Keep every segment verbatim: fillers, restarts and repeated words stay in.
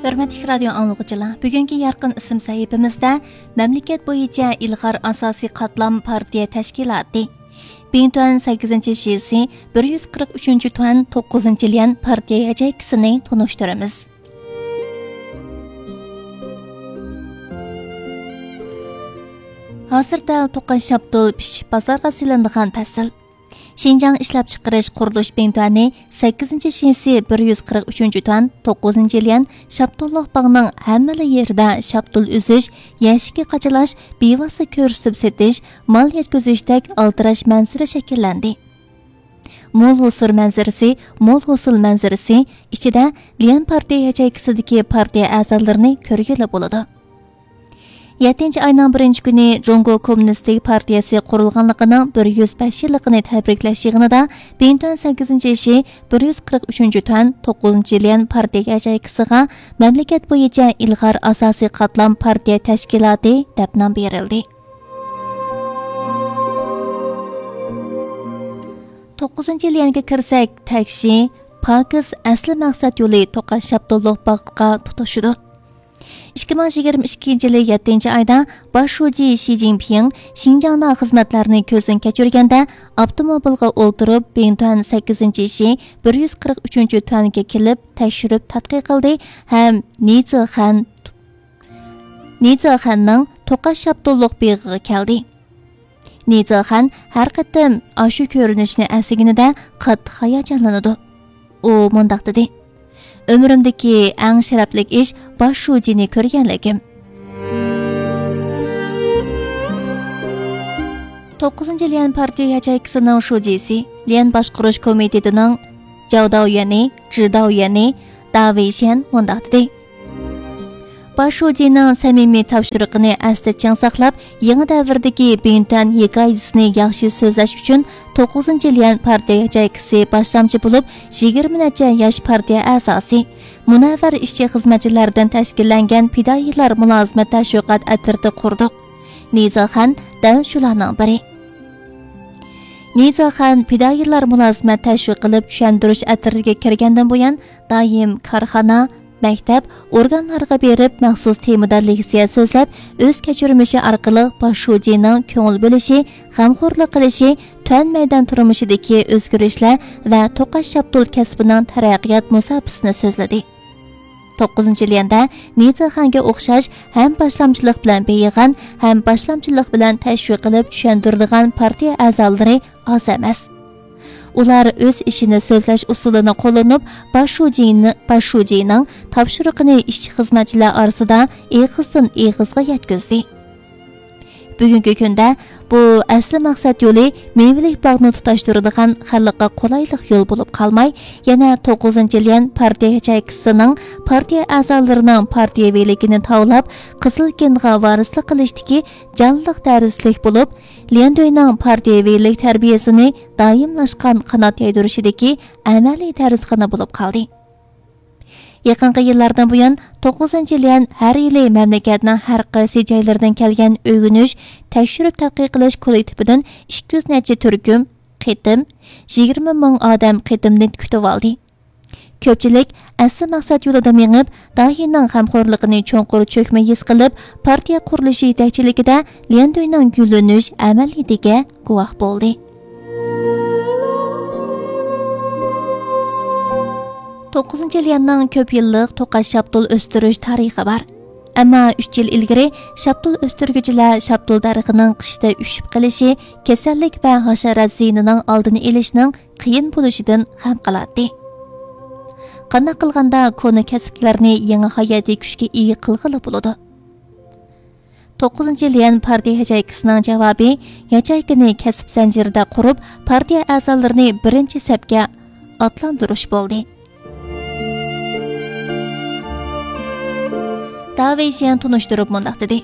ھۆرمەتلىك رادىيو ئاڭلىغۇچىلار، بۈگۈنكى يارقىن ئىسىم سەھىپىمىزدە مەملىكەت بويىچە ئىلغار ئاساسىي قاتلام پارتىيە تەشكىلاتى، بىڭتۈەن سەككىزىنچى شىسى، بىر يۈز قىرىق ئۈچىنچى تۈەن توققۇزىنچى ليەن پارتىيە ياچېيكىسىنى تونۇشتۇرىمىز. ھازىر دەل توقاچ شاپتۇل پىشىپ بازارغا سېلىنىدىغان پەسىل. شىنجاڭ ئىشلەپچىقىرىش قۇرۇلۇش بىڭتۈەنى سەككىزىنچى شىسى، بىر يۈز قىرىق ئۈچىنچى تۈەن توققۇزىنچى ليەن شاپتۇللۇق باغنىڭ ھەممىلا يېرىدە شاپتۇل ئۈزۈش، يەشىكى قاچىلاش، بىۋاسىتە كۆرسىتىپ سېتىش، مال يەتكۈزۈشتەك ئالدىراش مەنزىرە شەكىللەندى. مول ھۇسۇر مەنزىرىسى، مول ھوسۇل مەنزىرىسى ئىچىدە ليەن پارتىيە ياچېيكىسىدىكى پارتىيە ئەزالىرىنى كۆرگىلى بولىدۇ. يەتتىنچى ئاينىڭ بىرىنچى كۈنى جۇڭگو كوممۇنىستىك پارتىيەسى قۇرۇلغانلىقىنىڭ بىر يۈز بەش يىللىقىنى تەبرىكلەش يىغىنىدا بىڭتۈەن سەككىزىنچى شى، بىر يۈز قىرىق ئۈچىنچى تۈەن توققۇزىنچى ليەن پارتىيە ياچېيكىسىغا مەملىكەت بويىچە ئىلغار ئاساسىي قاتلام پارتىيە تەشكىلاتى دەپ نام بېرىلدى. توققۇزىنچى ليەنگە كىرسەك، تەكشى، پاكىز ئەسلى مەقسەت يولى توقاچ شاپتۇللۇق باغقا تۇتىشىدۇ. ئىككى مىڭ يىگىرمە ئىككىنچى يىلى يەتتىنچى ئايدا باش شۇجى شى جىنپىڭ شىنجاڭدا خىزمەتلەرنى كۆزدىن كەچۈرگەندە، ئاپتوموبىلغا ئولتۇرۇپ، بىڭتۈەن سەككىزىنچى شى، بىر يۈز قىرىق ئۈچىنچى تۈەنگە كېلىپ، تەكشۈرۈپ تەتقىق قىلدى ھەم نى زېخەن، نى زېخەننىڭ توقاچ شاپتۇللۇق بېغىغا كەلدى. نى زېخەن ھەر قېتىم ئاشۇ كۆرۈنۈشنى ئەسلىگىنىدە قاتتىق ھاياجانلىنىدۇ. ئۇ مۇنداق دېدى: «ئۆمرۈمدىكى ئەڭ شەرەپلىك ئىش باش شۇجىنى كۆرگەنلىكىم.» توققۇزىنچى ليەن پارتىيە ياچېيكىسىنىڭ شۇجىسى، ليەن باشقۇرۇش كومىتېتىنىڭ جاۋ داۋيەنى، جى داۋيەنى، داۋېيشيەن مۇنداق دېدى: باش شۇجىنىڭ سەمىمىي تاپشۇرۇقىنى ئەستە چىڭ ساقلاپ، يېڭى دەۋردىكى بىڭتۈەن ھېكايىسىنى ياخشى سۆزلەش ئۈچۈن توققۇزىنچى ليەن پارتىيە ياچېيكىسى باشلامچى بولۇپ، يىگىرمە نەچچە ياش پارتىيە ئەزاسى، مۇنەۋۋەر ئىشچى-خىزمەتچىلەردىن تەشكىللەنگەن پىدائىيلار مۇلازىمەت تەشۋىقات ئەترىتى قۇردۇق. نى زېخەن دەل شۇلارنىڭ بىرى. نى زېخەن پىدائىيلار مۇلازىمەت تەشۋىق قىلىپ چۈشەندۈرۈش ئەترىتىگە كىرگەندىن بۇيان، دائىم كارخانا، مەكتەپ، ئورگانلارغا بېرىپ، مەخسۇس تېمىدا لېكسىيە سۆزلەپ، ئۆز كەچۈرمىشى ئارقىلىق باش شۇجىنىڭ كۆڭۈل بۆلۈشى، غەمخورلۇق قىلىشى، تۈەن مەيدان تۇرمۇشىدىكى ئۆزگىرىشلەر ۋە توقاچ شاپتۇل كەسپىنىڭ تەرەققىيات مۇساپىسىنى سۆزلىدى. توققۇزىنچى ليەندە نى زېخەنگە ئوخشاش ھەم باشلامچىلىق بىلەن بېيىغان، ھەم باشلامچىلىق بىلەن تەشۋىق قىلىپ چۈشەندۈرىدىغان پارتىيە ئەزالىرى ئاز ئەمەس. ئۇلار ئۆز ئىشىنى سۆزلەش ئۇسۇلىنى قوللىنىپ، باش شۇجىنى، باش شۇجىنىڭ تاپشۇرۇقىنى ئىشچى-خىزمەتچىلەر ئارىسىدا ئېغىزدىن ئېغىزغا يەتكۈزدى. بۈگۈنكى كۈندە بۇ ئەسلى مەقسەت يولى مېۋىلىك باغنى تۇتاشتۇرىدىغان خەلققە قولايلىق يول بولۇپ قالماي، يەنە توققۇزىنچى ليەن پارتىيە ياچېيكىسىنىڭ پارتىيە ئەزالىرىنىڭ پارتىيەۋىلىكىنى تاۋلاپ، قىزىل گېنغا ۋارىسلىق قىلىشتىكى جانلىق دەرسلىك بولۇپ، ليەندۈينىڭ پارتىيەۋىلىك تەربىيەسىنى دائىملاشقان قانات يايدۇرۇشىدىكى ئەمەلىي دەرسخانا بولۇپ قالدى. يېقىنقى يىللاردىن بۇيان، توققۇزىنچى ليەن ھەر يىلى مەملىكەتنىڭ ھەر قايسى جايلىرىدىن كەلگەن ئۆگىنىش، تەكشۈرۈپ تەتقىق قىلىش كوللېكتىپىدىن ئىككى يۈز نەچچە تۈركۈم، قېتىم، يىگىرمە مىڭ ئادەم قېتىمنى كۈتۈۋالدى. كۆپچىلىك ئەسلى مەقسەت يولىدا مېڭىپ، داھىينىڭ غەمخورلۇقىنى چوڭقۇر چۆكمە ھېس قىلىپ، پارتىيە قۇرۇلۇشى يېتەكچىلىكىدە ليەندۈينىڭ گۈللىنىش ئەمەلىيىتىگە گۇۋاھ بولدى. توققۇزىنچى ليەننىڭ كۆپ يىللىق توقاچ شاپتۇل ئۆستۈرۈش تارىخى بار. ئەمما ئۈچ يىل ئىلگىرى شاپتۇل ئۆستۈرگۈچىلەر شاپتۇل دەرىخىنىڭ قىشتا ئۈشۈپ قېلىشى، كېسەللىك ۋە ھاشارات زىيىنىنىڭ ئالدىنى ئېلىشنىڭ قىيىن بولۇشىدىن غەم قىلاتتى. قانداق قىلغاندا كونا كەسىپلەرنى يېڭى ھاياتىي كۈچكە ئىگە قىلغىلى بولىدۇ؟ توققۇزىنچى ليەن پارتىيە ياچېيكىسىنىڭ جاۋابى ياچېيكىنى كەسىپ زەنجىرىدە قۇرۇپ، پارتىيە ئەزالىرىنى بىرىنچى سەپكە ئاتلاندۇرۇش بولدى. داۋېيشيەن تونۇشتۇرۇپ مۇنداق دېدى: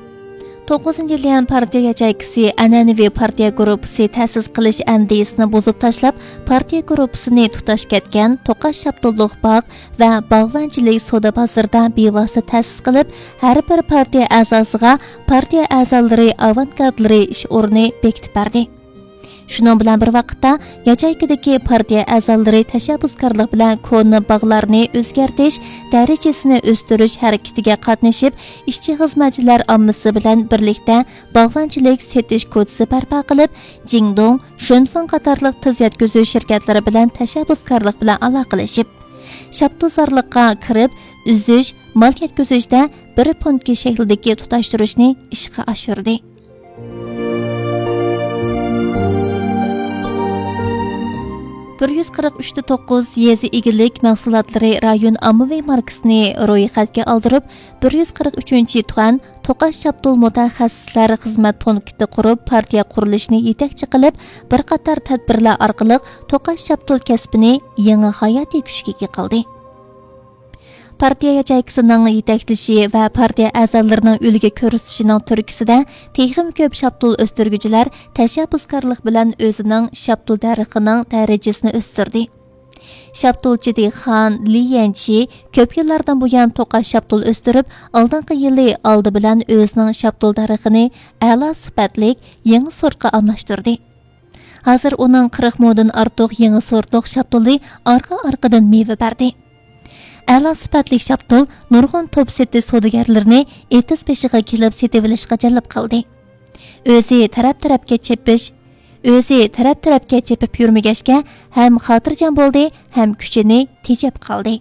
توققۇزىنچى ليەن پارتىيە ياچېيكىسى ئەنئەنىۋى پارتىيە گۇرۇپپىسى تەسىس قىلىش ئەندىزىسىنى بۇزۇپ تاشلاپ، پارتىيە گۇرۇپپىسىنى تۇتاش كەتكەن توقاچ شاپتۇللۇق باغ ۋە باغۋەنچىلىك سودا بازىرىدا بىۋاسىتە تەسىس قىلىپ، ھەر بىر پارتىيە ئەزاسىغا پارتىيە ئەزالىرى، ئاۋانگارتلىرى ئىش ئورنى بېكىتىپ بەردى. شۇنىڭ بىلەن بىر ۋاقىتتا، ياچېيكىدىكى پارتىيە ئەزالىرى تەشەببۇسكارلىق بىلەن كونا باغلارنى ئۆزگەرتىش، دەرىجىسىنى ئۆستۈرۈش ھەرىكىتىگە قاتنىشىپ، ئىشچى خىزمەتچىلەر ئاممىسى بىلەن بىرلىكتە باغۋەنچىلىك سېتىش كوچىسى بەرپا قىلىپ، جىڭدۇڭ، شۈنفېڭ قاتارلىق تېز يەتكۈزۈش شىركەتلىرى بىلەن تەشەببۇسكارلىق بىلەن ئالاقىلىشىپ، شاپتۇلزارلىققا كىرىپ، ئۈزۈش، مال يەتكۈزۈشتە بىر پونكى شەكلىدىكى تۇتاشتۇرۇشنى ئىشقا ئاشۇردى. بىر يۈز قىرىق ئۈچ توققۇز يېزا ئىگىلىك مەھسۇلاتلىرى رايون ئاممىۋى ماركىسىنى رويخەتكە ئالدۇرۇپ، بىر يۈز قىرىق ئۈچىنچى تۇەن توقاچ شاپتۇل مۇتەخەسسىسلەر خىزمەت پونكىتى قۇرۇپ، پارتىيە قۇرۇلۇشىنى يېتەكچى قىلىپ، بىر قاتار تەدبىرلەر ئارقىلىق توقاچ شاپتۇل كەسپىنى يېڭى ھاياتىي كۈچكە ئىگە قىلدى. پارتىيە ياچېيكىسىنىڭ يېتەكلىشى ۋە پارتىيە ئەزالىرىنىڭ ئۈلگە كۆرسىتىشىنىڭ تۈرتكىسىدە، تېخىمۇ كۆپ شاپتۇل ئۆستۈرگۈچىلەر تەشەببۇسكارلىق بىلەن ئۆزىنىڭ شاپتۇل دەرىخىنىڭ دەرىجىسىنى ئۆستۈردى. شاپتۇلچى دېھقان لى يەنچى كۆپ يىللاردىن بۇيان توقاچ شاپتۇل ئۆستۈرۈپ، ئالدىنقى يىلى ئالدى بىلەن ئۆزىنىڭ شاپتۇل دەرىخىنى ئەلا سۈپەتلىك يېڭى سورتقا ئالماشتۇردى. ھازىر ئۇنىڭ قىرىق مودىن ئارتۇق يېڭى سورتلۇق شاپتۇلى ئارقا-ئارقىدىن مېۋە بەردى. ئەلا سۈپەتلىك شاپتۇل نۇرغۇن توپ سېتىش سودىگەرلىرىنى ئېتىز بېشىغا كېلىپ سېتىۋېلىشقا جەلپ قىلدى. ئۆزى تەرەپ-تەرەپكە چېپىش، ئۆزى تەرەپ-تەرەپكە چېپىپ يۈرمىگەچكە، ھەم خاتىرجەم بولدى، ھەم كۈچىنى تېجەپ قالدى.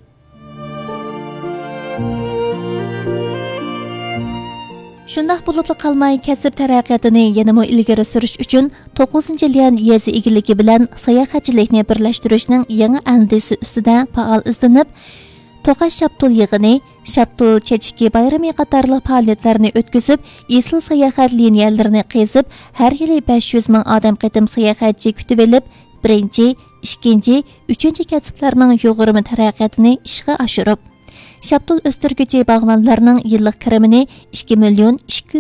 شۇنداق بولۇپلا قالماي، كەسىپ تەرەققىياتىنى يەنىمۇ ئىلگىرى سۈرۈش ئۈچۈن، توققۇزىنچى ليەن يېزا ئىگىلىكى بىلەن ساياھەتچىلىكنى بىرلەشتۈرۈشنىڭ يېڭى ئەندىزىسى ئۈستىدە پائال ئىزدىنىپ، توقاچ شاپتۇل يىغىنى، شاپتۇل چېچىكى بايرىمى قاتارلىق پائالىيەتلەرنى ئۆتكۈزۈپ، ئېسىل ساياھەت لىنىيەلىرىنى قېزىپ، ھەر يىلى بەش يۈز مىڭ ئادەم قېتىم ساياھەتچى كۈتۈۋېلىپ، بىرىنچى، ئىككىنچى، ئۈچىنچى كەسىپلەرنىڭ يۇغۇرما تەرەققىياتىنى ئىشقا ئاشۇرۇپ، شاپتۇل ئۆستۈرگۈچى باغۋەنلەرنىڭ يىللىق كىرىمىنى ئىككى مىليون ئىككى يۈز